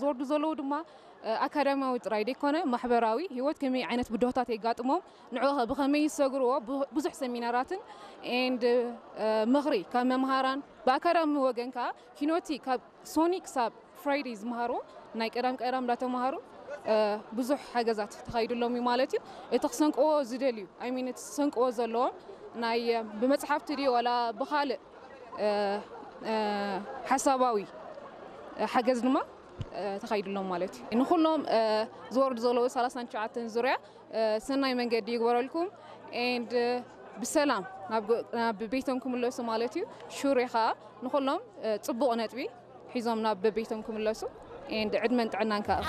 ዝወርዱ ዘለዉ ድማ ኣካዳሚያዊ ጥራይ ዘይኮነ ማሕበራዊ ህይወት ከመይ ዓይነት ብድሆታት የጋጥሞም፣ ንዕኡ ብኸመይ ይሰግርዎ፣ ብዙሕ ሰሚናራትን and ምኽሪ ካብ መምሃራን፣ ብኣካዳሚ ወገን ከዓ ኪኖቲ ካብ ሶኒ ክሳብ ፍራይደይ ዝመሃርዎ ናይ ቀዳም ቀዳም እንዳተምሃሩ ብዙሕ ሓገዛት ተኻይዱሎም እዩ ማለት እዩ። እቲ ክሰንቅዎ ዝደልዩ፣ I mean፣ እቲ ክሰንቅዎ ዘለዎም ናይ ብመፅሓፍቲ ድዩ ዋላ ብኻልእ ሓሳባዊ ሓገዝ ድማ ተኻይዱሎም ማለት እዩ። ንኩሎም ዝወርዱ ዘለዉ ሰላሳን ትሽዓተን ዙርያ ሰናይ መንገዲ ይግበረልኩም and ብሰላም ናብ ቤቶም ክምለሱ ማለት እዩ። ሹሬ ከዓ ንኩሎም ፅቡቕ ነጥቢ ሒዞም ናብ ቤቶም ክምለሱ and ዕድመን ጥዕናን ከዓ